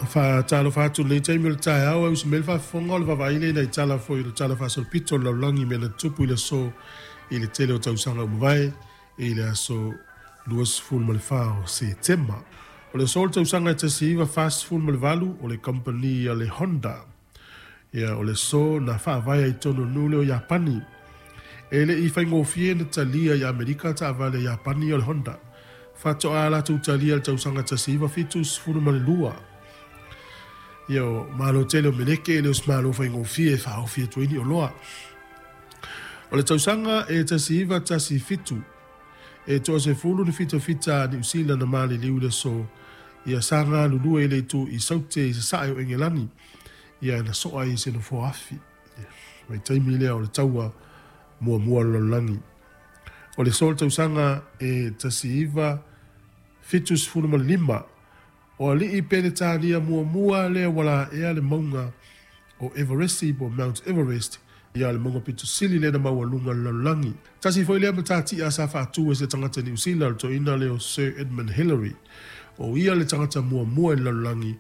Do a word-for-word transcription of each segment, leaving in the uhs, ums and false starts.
Faatalofa atu lenei taimi o le taeao e usi mai le faafofoga o le vaavaai lea i nai tala foi o le tala faasolopito o le lalolagi i mea na tutupu i le aso i le tele o tausaga ua mavae i le aso luasefulu ma le fa o Setema. O le aso o le tausaga e tasi iva fasefulu ma le valu o le kamupani a le Honda. Ia, o le aso na faavae ai totonu o le nuu lea o Iapani. E le i faigofie na talia i Amerika taavale a Iapani o le Honda. Faatoa latou talia i le tausaga tasi iva fitu sefulu ma le lua. Ia, o malo tele o Meleke e le o se malo faigofie e faaofi atu ai ni oloa. O le tausaga e tasi iva tasi fitu, e toasefulu ni fitafita a Niu Sila na maliliu i le aso, ia sa galulue i le itu i Saute i sasae o Engelani, ia na soa ai i se nofoa afi. Vaitaimi lea o le taua muamua o le lalolagi. O le aso o le tausaga e tasi iva fitu sefulu ma le lima, o alii Peretania muamua lea ua laea le mauga o Everesti po o Mount Everest, ia le mauga pito sili lea na maualuga o le lalolagi. Tasi foi lea matatia sa faatu e se tagata Niu Sila, o le toeaina lea o Sir Edmund Hillary. O ia le tagata muamua i le lalolagi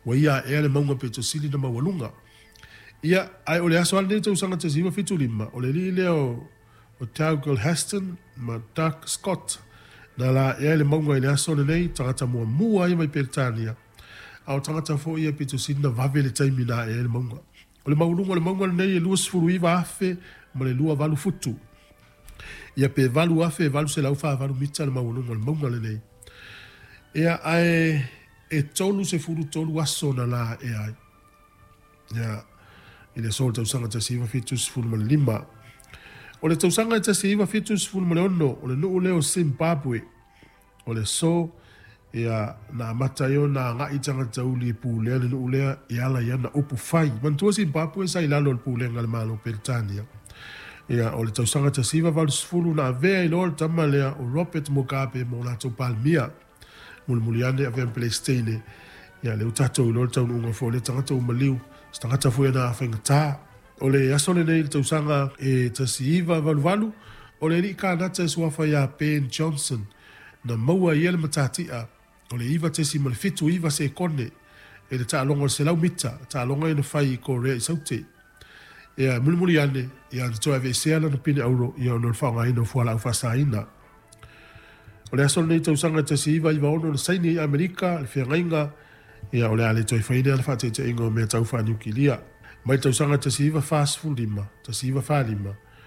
ua ia aea le mauga pito sili na maualuga. Ia, ae o le aso lava lenei tausaga tasi iva fitu lima, o le alii lea o o Dougal Haston ma Doug Scott na laea le mauga i le aso lenei, tagata muamua ia mai Peretania, a o tagata foi ia pito sili na vave le taimi na aea ai le mauga. O le maualuga o le mauga lenei e luasefulu iva afe ma le lua valu futu. Ia pe valu afe e valu selau faavalu mita le maualuga o le mauga lenei. Ia, ae e tolu sefulu tolu aso na laea ai. Ia, i le aso o le tausaga tasi iva fitu sefulu ma le lima. O le tausaga e tasi iva fitu sefulu ma le ono, o le nuu lea o Zimbabwe, o le aso ia na amata ai ona agai tagata uli e pulea le nuu lea e ala i ana upu fai. Manatua Zimbabwe sa i lalo o le pulega a le Malo o Peretania. Ia, o le tausaga tasi iva valu sefulu na avea ai loa le tama lea o Robert Mugabe ma o latou Palemia. Mulimuli ane avea ma Peresetene. Ia, lea ua tatou iloa le taunuuga foi o lea tagata ua maliu, se tagata foi na faigata. O le aso lenei i le tausaga e tasi iva valu valu, o le alii Kanata e suafa ia Ben Johnson, na maua ai ia le matatia o le iva tesima le fitu iva sekone i le taaloga o le selau mita, taaloga ia na fai i Korea i Saute. Ia, mulimuli ane, ia na toe aveesea lana pine auro ia ona o le faaaogaina o fualaau faasaina. O le aso lenei tausaga e tasi iva iva ono na saini ai Amerika le feagaiga ia o le a le toe faina le faataitaiga o mea tau faaniukilia. Mai le tausaga tasi iva fa sefulu lima, tasi iva fa lima,